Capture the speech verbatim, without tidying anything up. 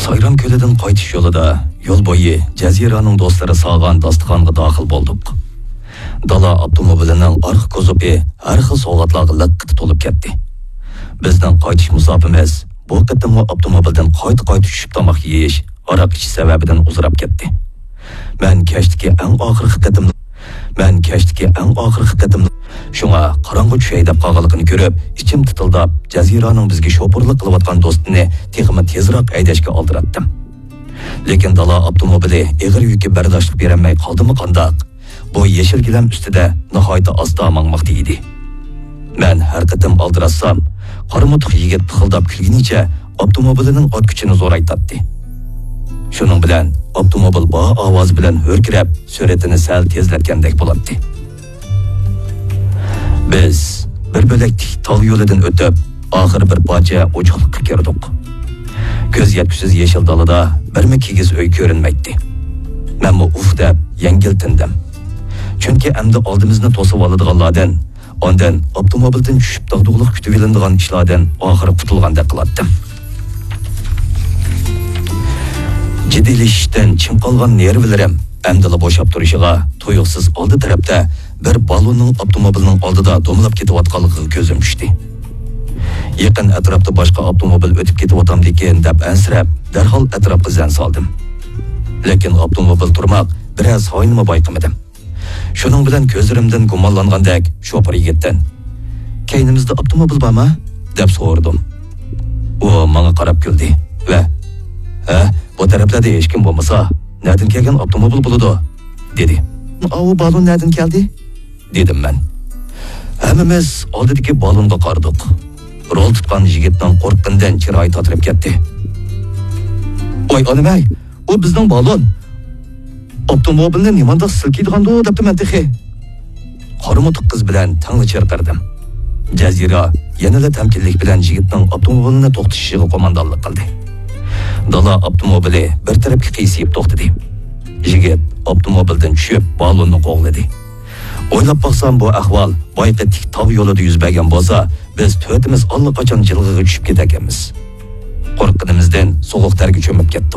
سايرام كۆلىدىن قايتىش يولىدا يول بويى جەزىرانىڭ دوستلىرى سالغان داستىخانغا داخىل بولدۇق. دالا ئاپتوموبىلىنىڭ ئارقا كوزۇپى ھەر خىل سوۋغاتلارغا لىققىدە تولۇپ كەتتى. بىزنىڭ قايتىش مۇساپىمىز بۇ قېتىممۇ ئاپتوموبىلدىن قايتا-قايتا چۈشۈپ تاماق يېيىش، ھاراق ئىچىش سەۋەبىدىن ئۇزىراپ كەتتى. مەن كەچتىكى ئەڭ ئاخىرقى قېتىم، مەن كەچتىكى ئەڭ ئاخىرقى قېتىم، شۇڭا قاراڭغۇ چۈشەي دەپ قالغانلىقىنى كۆرۈپ، ئىچىم تىتىلداپ، جەزىرانىڭ بىزگە شوپۇرلۇق قىلىۋاتقان دوستىنى تېخىمۇ تېزراق ھەيدەشكە ئالدىراتتىم. لېكىن دالا ئاپتوموبىلى ئېغىر يۈككە بەرداشلىق بېرەلمەي قالدىمۇ قانداق؟ بۇ يېشىل گىلەم ئۈستىدە ناھايىتى ئاستا ماڭماقتا ئىدى. مەن ھەر قېتىم ئالدىراتسام، قارىمۇتۇق يىگىت پىخىلداپ كۈلگىنىچە ئاپتوموبىلىنىڭ ئارتكۈچىنى زورايتاتتى. شۇنىڭ بىلەن ئاپتوموبىل بار ئاۋازى بىلەن ھۆركىرەپ، سۈرئىتىنى سەل تېزلەتكەندەك بولاتتى. بىز بىر بۆلەك تىك تاغ يولىدىن ئۆتۈپ، ئاخىرى بىر پارچە ئوچۇقلۇققا كىردۇق. كۆز يەتكۈسىز يېشىل دالىدا بىرمۇ كىگىز ئۆي كۆرۈنمەيتتى. مەنمۇ ئۇھ دەپ يەڭگىل تىندىم. چۈنكى ئەمدى ئالدىمىزنى توسۇۋالىدىغانلاردىن، ئاندىن ئاپتوموبىلدىن چۈشۈپ داغدۇغىلىق كۈتۈۋېلىنىدىغان ئىشلاردىن ئاخىرى قۇتۇلغاندەك قىلاتتىم. جىددىيلىشىشتىن چىڭ قالغان نېرۋىلىرىم ئەمدىلا بوشاپ تۇرۇشىغا، تۇيۇقسىز ئالدى تەرەپتە بىر بالوننىڭ ئاپتوموبىلنىڭ ئالدىدا دومىلاپ كېتىۋاتقانلىقىغا كۆزۈم چۈشتى. يېقىن ئەتراپتا باشقا ئاپتوموبىل ئۆتۈپ كېتىۋاتامدىكىن دەپ ئەنسىرەپ، دەرھال ئەتراپقا زەن سالدىم. لېكىن ئاپتوموبىل تۇرماق بىرەر سانىيىنىمۇ بايقىمىدىم. شۇنىڭ بىلەن كۆزلىرىمدىن گۇمانلانغاندەك شوپۇر يىگىتتىن، «كەينىمىزدە ئاپتوموبىل بارمۇ؟» دەپ سورىدىم. ئۇ ماڭا قاراپ كۈلدى ۋە، «ھە، بۇ تەرەپلەردە ھېچكىم بولمىسا، نەدىن كەلگەن ئاپتوموبىل بولىدۇ؟» دېدى. «ئاۋۇ بالون نەدىن كەلدى؟» دېدىم مەن. ھەممىمىز ئالدىدىكى بالونغا قارىدۇق. رول تۇتقان يىگىتنىڭ قورققىنىدىن چىرايى تاتىرىپ كەتتى. «ۋاي ئانىمەي، ئۇ بىزنىڭ بالون! ئاپتوموبىلنى نېمانداق سىلكىيدىغاندۇ دەپتىمەن تېخى.» قارىمۇتۇق قىز بىلەن تەڭلا چىرقىرىدىم. جەزىرە يەنىلا تەمكىنلىك بىلەن يىگىتنىڭ ئاپتوموبىلىنى توختىتىشىغا قوماندانلىق قىلدى. دالا ئاپتوموبىلى بىر تەرەپكە قىيسىيىپ توختىدى. يىگىت ئاپتوموبىلدىن چۈشۈپ، بالوننى قوغلىدى. ئويلاپ باقسام، بۇ ئەھۋال بايىقى تىك تاغ يولىدا يۈز بەرگەن بولسا، بىز تۆتىمىز ئاللىقاچان جىلغىغا چۈشۈپ كېتەركەنمىز. قورققىنىمىزدىن سوغۇق تەرگە چۆمۈپ كەتتۇق.